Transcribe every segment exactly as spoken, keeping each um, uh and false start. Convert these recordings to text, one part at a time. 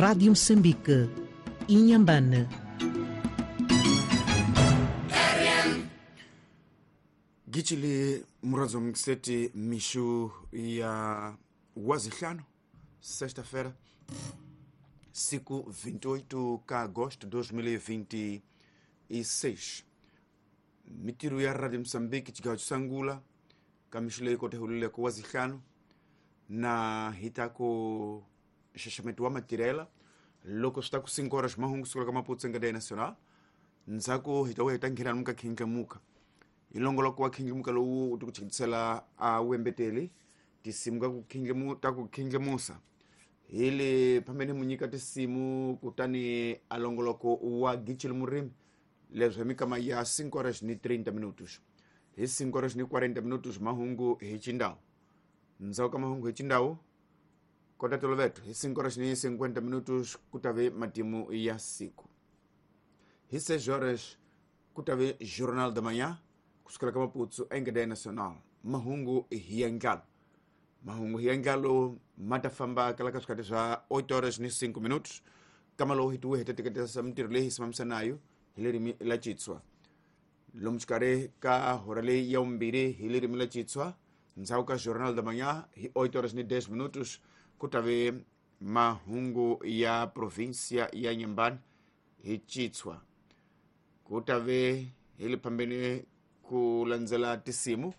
Rádio Moçambique, Inhambane. Gichili murazo mkiseti mishu ya wazihlanu, sexta-feira, siku vinte e oito de agosto de dois mil e vinte e seis. Mitiru ya Radio Moçambique chigawo chisangula kamishule ikote hulile ko wazihlanu na hitako xaxameto wa matirela loko swi ta ku cinco horas mahungu sukela ka Maputo Cadeia Nacional ndzhaku hi ta vuya hi ta nghena lomu ka khindlemuka hi longoloko wa khindlemuka lowu u ti ku chikisela a wembeteli tisimu ka ku khindlemu ta ku khindlemusa hi le phambeni mu nyika tisimu kutani a longoloko wa Gichili Murimi leswi hi mikama ya cinco horas ni trinta minutos hi cinco horas ni quarenta minutos mahungu hi Chindau ndzhaku ka mahungu hi Chindau kota toloveto hi cinco horas ni cinquenta minutos ku ta ve matimu ya siku hi seis horas ku ta ve Jornal da Manhã kusukela ka Maputo em Cadeia Nacional mahungu hi ya ndlalo mahungu hi ya ndlalo ma ta famba kala ka swikati swa oito horas ni cinco minutos kama lowu hi tiwe hi ta teketesa mintirho leyi hi simamisanayo hi ririmi la Xitswa lomu xikarhi ka hora leyi ya vumbirhi hi ririmi la Xitswa ndzhaku ka Jornal da Manhã hi oito horas ni dez minutos ku ta ve mahungu ya província ya Inhambane hi Xitswa ku ta ve hi le phambeni ku landzela tisimu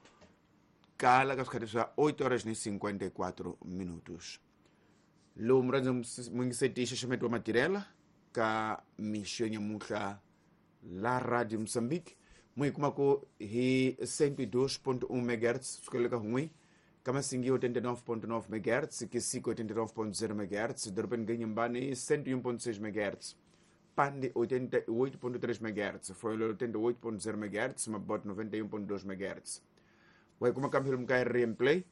kala ka swikati swa oito horas ni cinquenta e quatro minutos lowu murhandza mungiseti xaxameto wa matirela ka mixo ya nyamuhla la Radio Moçambique mu hi kumako hi cento e dois ponto um megahertz sukela ka hun'we Kamasingi oitenta e nove ponto nove megahertz, Kisico oitenta e nove ponto zero megahertz, Dorobeni ga Inhambane cento e um ponto seis megahertz, Pande oitenta e oito ponto três megahertz, Foilho oitenta e oito ponto zero megahertz, Mabote noventa e um ponto dois megahertz. Wa kuma kamphelo muka R M Play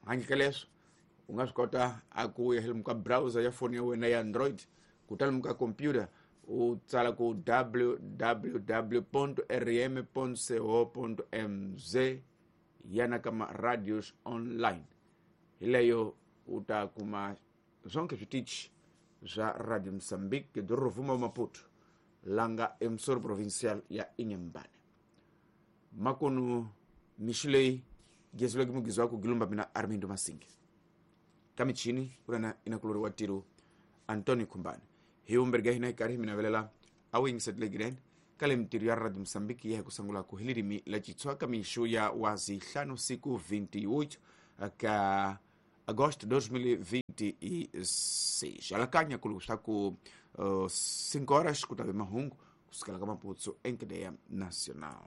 handle ka leswo u nga swi kota a ku ya muka browser ya foni ya wena ya Android kutani muka computer u tsala ku w w w ponto r m ponto co ponto m z yana kama radios online hi leyo u ta kuma zonke switichi swa Radio Moçambique do Rovuma Maputo langa emsoro provincial ya Inhambane makunu mixo leyi gezuleke mugizi wa ku gilumba mina Armindo Masingi ka michini kulana inakulori wa tiro Antonio Kumbani hi umberga hina hi karhi hi mi navelela a wu yingiserile gireni ka le mintirho ya Radio Moçambique ya hi ku sungula ku hi ririmi la Xitswa ka mixo ya wazihlanu siku vinte e oito ka agosto dois mil e vinte e seis alakanya ku swa ku uh, cinco horas ku ta ve mahungu kusukela ka Maputo em Cadeia Nacional.